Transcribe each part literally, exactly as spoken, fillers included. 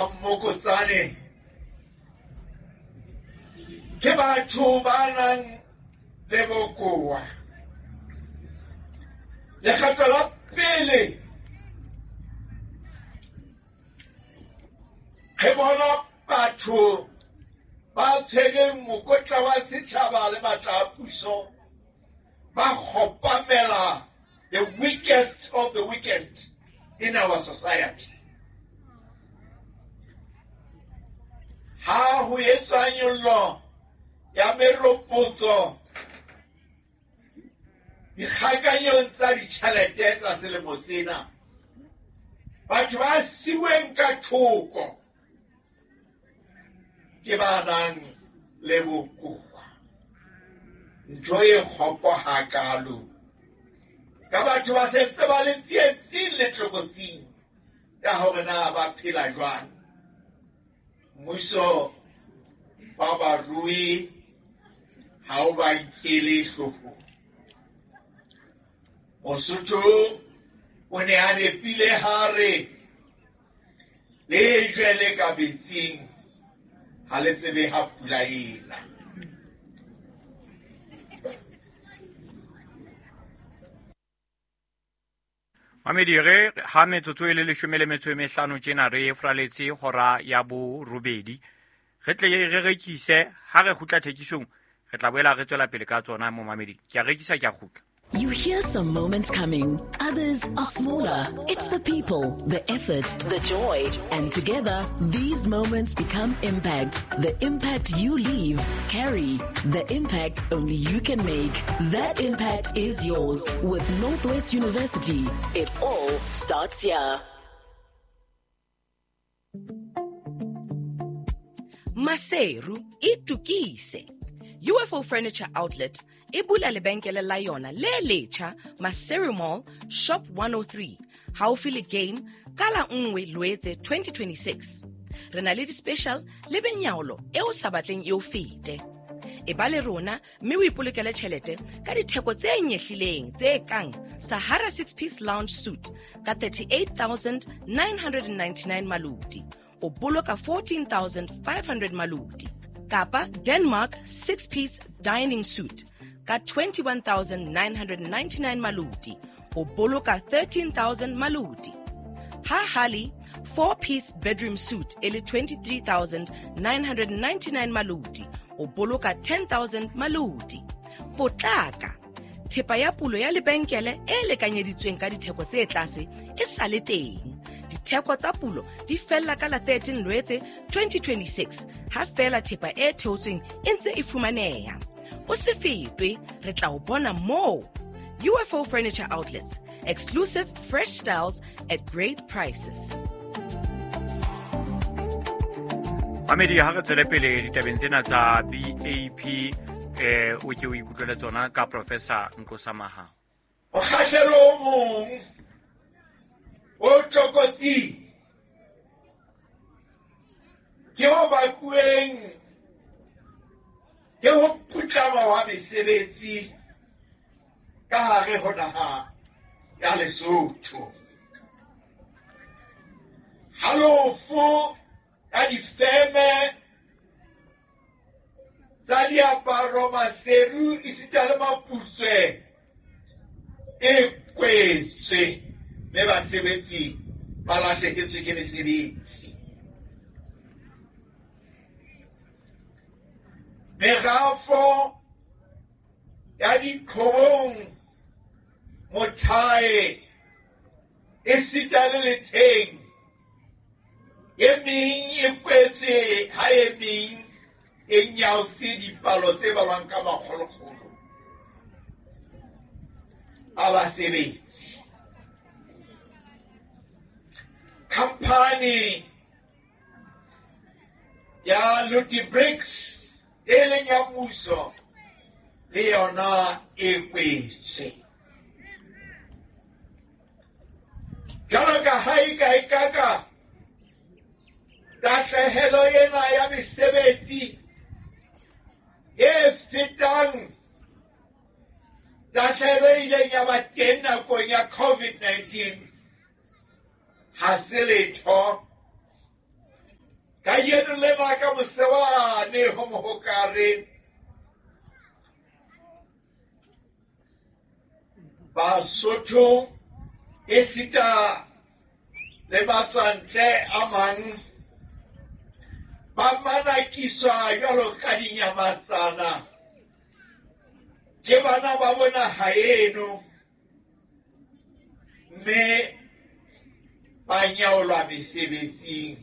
Mmokotsane ke batho ba nang le bokowa. Lekgetlo la pele re bona batho ba tshwereng mokotla wa setjhaba le matla a puso ba kgopamela the weakest of the weakest in our society. Ha ho etswa nyollo ya meropotso dikgakanyong tsa ditjhelete tsa selemo sena, batho ba siuweng ka thoko ke ba nang le bokowa. Ntho e kgopo hakalo ka batho ba sentse ba le tsietsing le tlokotsing ya hore na ba phela jwang. Mmuso wa barui ha o ba nkele hloohong. Mosotho o ne a nepile ha re lejwe le ka metsing ha le tsebe ha pula ena. Mamedi, re ha metsotso e le leshome le metso e mehlano tjena re fraletse hora ya borobedi. Re tle re rekise, ha re kgutla thekisong re tla boela re tswela pele ka tsona mo mamedi. Ke a rekisa, ke a kgutla. You hear some moments coming, others are smaller. It's the people, the effort, the joy. And together, these moments become impact. The impact you leave, carry. The impact only you can make. That impact is yours. With Northwest University, it all starts here. Maseru itukise. U F O Furniture Outlet e bula lebenkele la yona le letjha Maseru Mall, Shop one oh three, haufi le Game, ka la nngwe Loetse twenty twenty-six. Re na le di-special le benyaolo e o sa batleng e o fete. E ba le rona mme o ipolokele tjhelete ka ditheko tse nyehlileng tse kang Sahara six-piece lounge suit ka thirty-eight thousand nine hundred ninety-nine maluti, o boloka fourteen thousand five hundred maluti. Kapa Denmark six-piece dining suit ka twenty-one thousand nine hundred ninety-nine maluti, o boloka thirteen thousand maluti. Ha Hali four-piece bedroom suit e le twenty-three thousand nine hundred ninety-nine maluti, o boloka ten thousand maluti. Potlaka, thepa ya pulo ya lebenkele e lekanyeditsweng ka ditheko tse tlase e sa le teng. Ditheko tsa pulo di fella ka la thirteen Loetse twenty twenty-six, ha fela thepa e theotsweng e ntse e fumaneha. O se fetwe, re tla o bona moo. U F O Furniture Outlets, exclusive fresh styles at great prices. Mamedi, ha re tswele pele ditabeng tsena tsa B A P, eh, o ke o ikutlwele tsona ka Professor Nkosa Mahao. Mokgahlelo o mong o tlokotsing ke o bakuweng ke ho putlama wa mesebetsi ka hare ho naha ya Lesotho. Halofo ya difeme tsa diaparo, maseru esita le maputswe e kwetswe, mme basebetsi ba lahlehetswe ke mesebetsi. Merafo ya diqhobong, mothae esita le letsheng e meng e kwetswe, ha e meng e nyaose dipalo tse balwang ka makgolokgolo a basebetsi. Khamphani ya Ludibricks e leng ya mmuso le yona e kwetswe. Jwalo ka ha e ka e kaka tahlehelo ena ya mesebetsi e fetang tahlehelo e ileng ya ba teng nakong ya COVID nineteen ha se letho Kajeno lena ka mosewane ho Mohokare, Basotho esita le matswantle a mang ba manakiswa jwalo ka dinyamatsana ke bana ba bona haeno, mme ba nyaolwa mesebetsing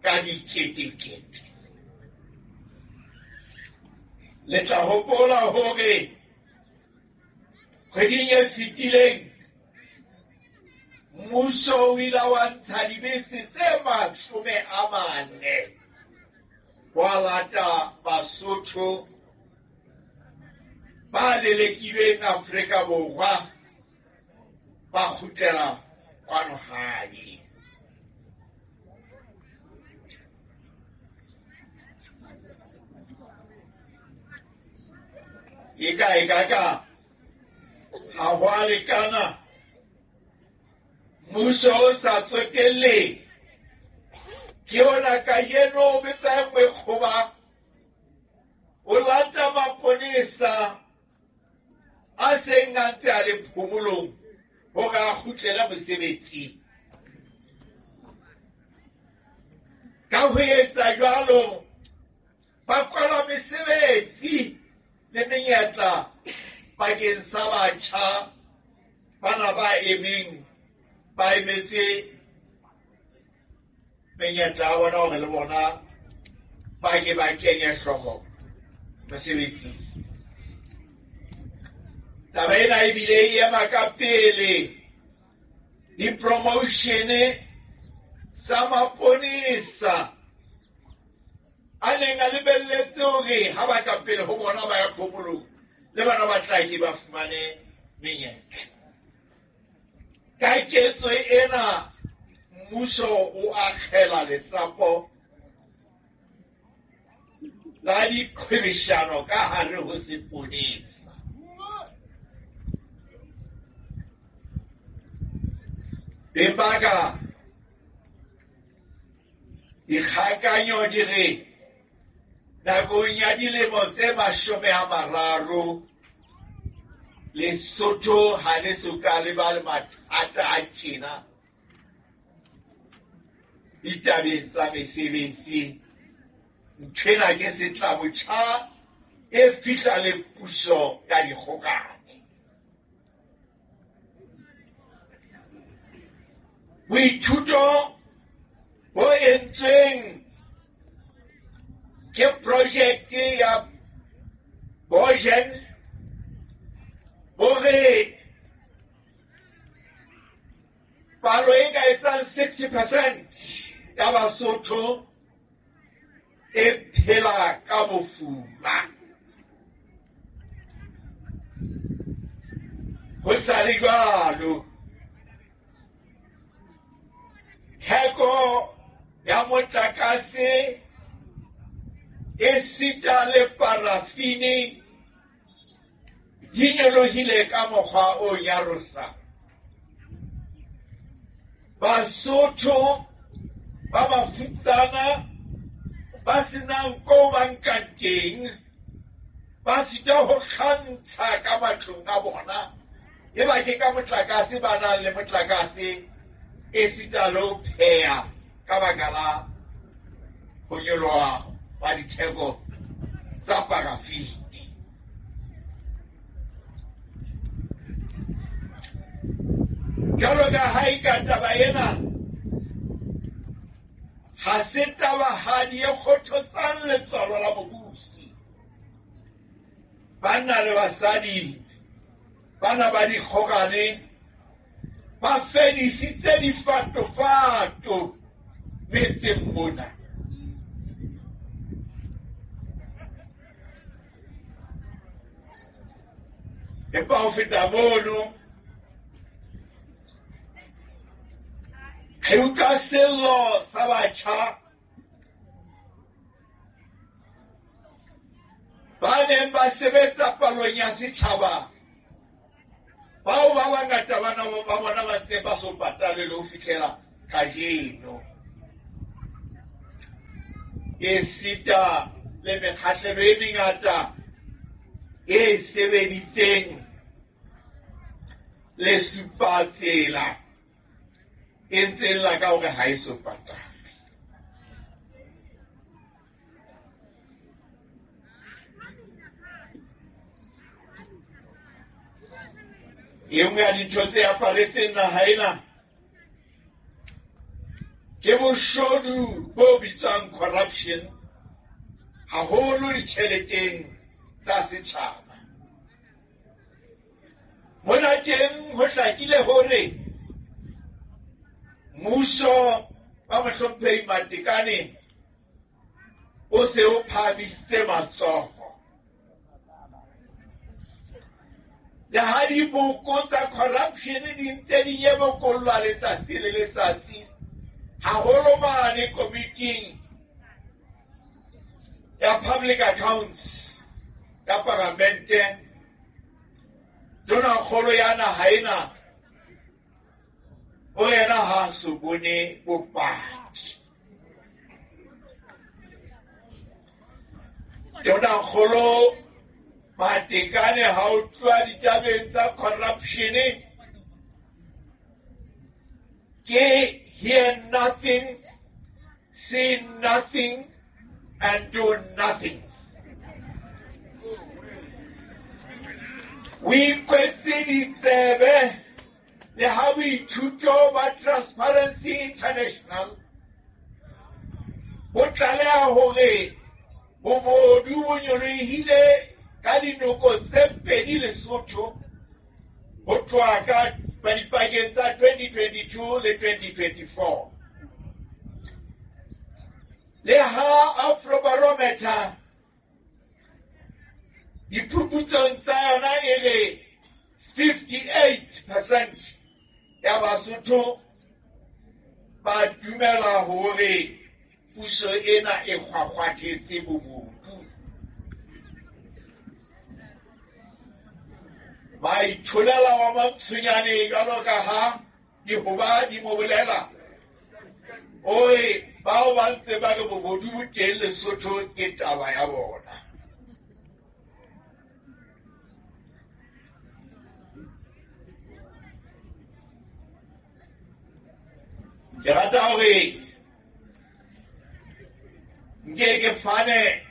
ka diketekete. Le tla hopola hore kgweding e fetileng mmuso o ile wa ntsha dibese tse mashome a mane wa lata Basotho ba lelekilweng Afrika Borwa ba kgutlela kwano hae. E ka e ka ka ha ho a lekana mmuso o sa tsotelle ke ona kajeno o betsa mekgoba o lata maponesa a seng a ntse a le phomolong hore a kgutlele mosebetsing. Ka ho etsa jwalo ba kwala mesebetsi le menyetla bakeng sa batjha bana ba emeng ba emetse menyetla ya bona hore le bona ba ke ba kenye hlooho mosebetsing. Taba ena ebile e ema ka pele di-promotion tsa maponesa a neng a lebelletse hore ha ba ka pele ho bona ba ya phomolong le bana ba tla ke ba fumane menyetla. Ka ketso ena mmuso o akgela lesapo la diqhwebeshano ka hare ho seponesa. Beng ba ka, dikgakanyo di re nakong ya dilemo tse mashome a mararo Lesotho ha le soka le ba le mathata a tjena ditabeng tsa mesebetsi. Nthwena ke setlabotjha e fihla le puso ya dikgokane. Boithuto bo entsweng ke projekte ya Bojen bo re palo e ka etsang sixty percent ya Basotho e phela ka bofuma. Ho sa le jwalo, theko ya motlakase esita le parafini di nyolohile ka mokgwa o nyarosang. Basotho ba mafutsana ba senang ko ba nkang teng ba sitwa ho kgantsha ka matlong a bona, e ba ke ka motlakase ba nang le motlakase esita le ho pheha ka baka la ho nyoloha ba ditheko tsa parafini. Jwalo ka ha e ka taba ena ha se tabahadi e kgothotsang letswalo la mobusi. Banna le basadi bana ba dikgokane ba fedisitse difatofato metseng mona. Empa ho feta mono, re utlwa sello sa batjha ba neng ba sebetsa palong ya setjhaba, bao ba bangata bana ba bona ba ntse ba so patalwe le ho fihlela kajeno. Esita le mekgahlelo e mengata e sebeditseng le supatsela e ntseng la ka hore ha e so patalwe. E nngwe ya dintho tse aparetseng naha ena ke boshodu bo bitswang corruption, haholo ditjheleteng tsa setjhaba. Mona teng ho hlakile hore mmuso wa Mohlomphehi Matekane o se o phahamisitse matsoho. Le ha diboko tsa corruption di ntse di nyebokollwa letsatsi le letsatsi, haholo mane komiting ya Public Accounts ya Palamente, Tonakgolo ya naha ena o yena ha so bone bopaki. Tonakgolo Matekane ha o tloha ditabeng tsa corruption ke hear nothing, see nothing and do nothing. O ikwetse ditsebe le ha boithuto ba Transparency International bo tlaleha hore bobodu bo nyolohile ka dinoko tse pedi Lesotho ho tloha ka dipakeng tsa twenty twenty-two le twenty twenty-four. Le ha Afrobarometer diphuputsong tsa yona e re fifty-eight percent ya Basotho ba dumela hore puso ena e kgwakgwathetse bobodu. Ba itholela wa Mantshonyane jwalo ka ha dihoba di mo bolela, o re bao ba ntse ba re bobodu bo teng Lesotho ke taba ya bona. Ke rata hore nke ke fane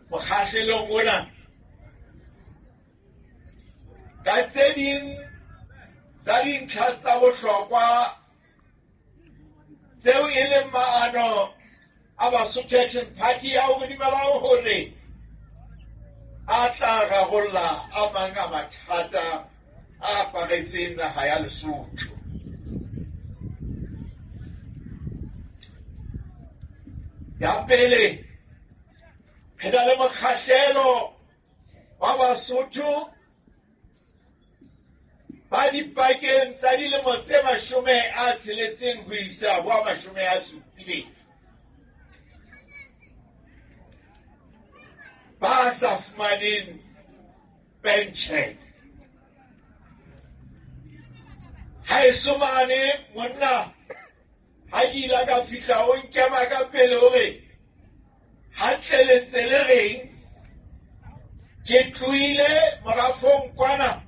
mokgahlelong ona ka tse ding tsa dintlha tsa bohlokwa tseo e leng maano a Basotho Action Party ao re dumelang hore a tla rarolla a mang a mathata a aparetseng naha ya Lesotho. Ya pele, re na le mokgahlelo wa Basotho ba dipakeng tsa dilemo tse mashome a tsheletseng ho isa ho a mashome a supileng ba sa fumaneng pension. Haeso mane monna ha ke ile ka fihla o nkema ka pele hore hantle le ntse le reng, ke tlohile morafong kwana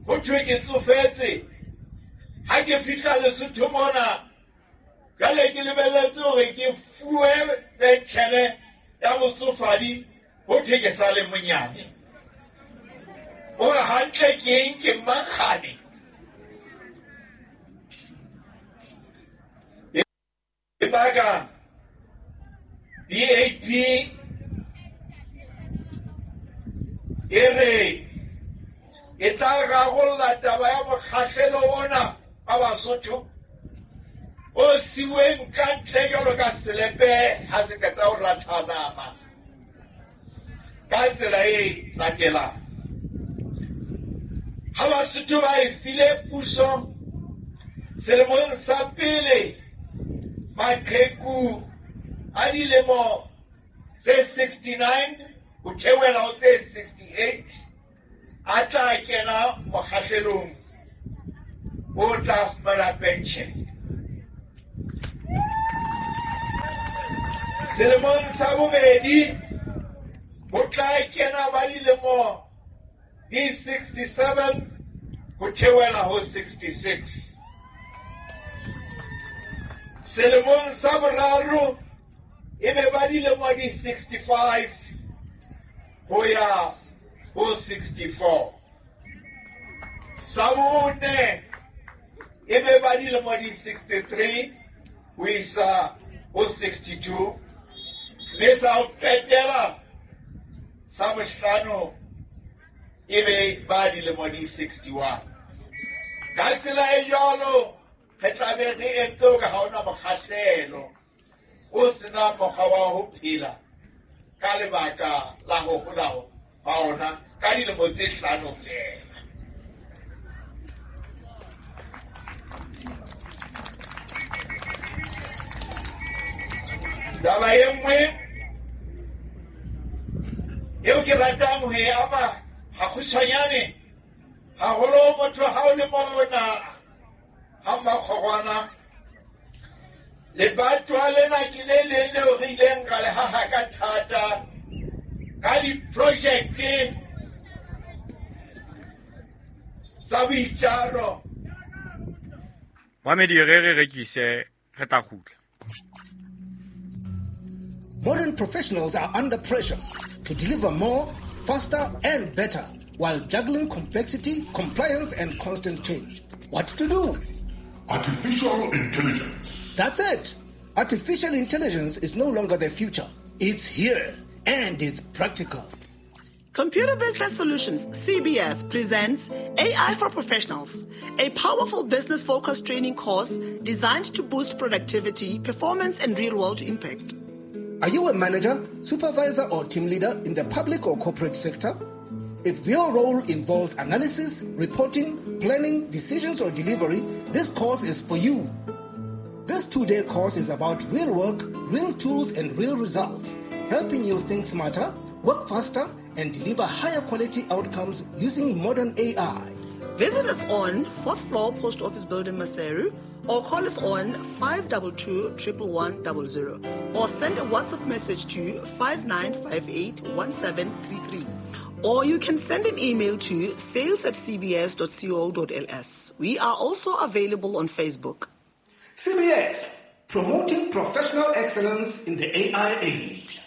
ho thwe ke tsofetse. Ha ke fihla Lesotho mona jwale ke lebelletse hore ke fuwe penshene ya botsofadi, ho thwe ke sa le monyane. Hore hantle ke eng, ke mmakgane. Lebaka B A P e re e tla rarolla taba ya mokgahlelo ona wa Basotho o siuweng ka ntle jwalo ka selepe ha se qeta ho ratha nama ka tsela e latelang. Ha Basotho ba e file puso selemong sa pele, maqheku a dilemo tse sixty-nine ho theohela ho tse sixty-eight a tla kena mokgahlelong o tla fumana pension. Selemong sa bobedi ho tla kena ba dilemo di sixty-seven ho theohela ho sixty-six. Selemong sa boraro e be ba dilemo di sixty-five ho ya ho sixty-four. Sa bone e be ba dilemo di sixty-three ho isa ho sixty-two. Mme sa ho qetela sa bohlano e be ba dilemo di sixty-one. Ka tsela e jwalo re tla be re entse hore ha hona mokgahlelo o sena mokgwa wa ho phela ka lebaka la ho hola ha ona ka dilemo tse hlano feela. Taba e nngwe eo ke ratang ho e ama hakgutshwanyane, haholo motho ha o le mona ha Mmakgorwana, lebatwa lena ke le leng leo re ileng ra le haha ka thata ka diprojekte tsa boitjaro. Mamedi, re re rekise, re tla kgutla. Modern professionals are under pressure to deliver more, faster, and better while juggling complexity, compliance, and constant change. What to do? Artificial intelligence. That's it. Artificial intelligence is no longer the future. It's here, and it's practical. Computer Business Solutions, C B S, presents A I for Professionals, a powerful business-focused training course designed to boost productivity, performance, and real-world impact. Are you a manager, supervisor, or team leader in the public or corporate sector? If your role involves analysis, reporting, planning, decisions, or delivery, this course is for you. This two-day course is about real work, real tools, and real results, helping you think smarter, work faster, and deliver higher quality outcomes using modern A I. Visit us on fourth floor Post Office Building, Maseru, or call us on five two two, one one one zero, or send a WhatsApp message to five nine five eight, one seven three three. Or you can send an email to sales at c b s dot co dot l s. We are also available on Facebook. C B S, promoting professional excellence in the A I age.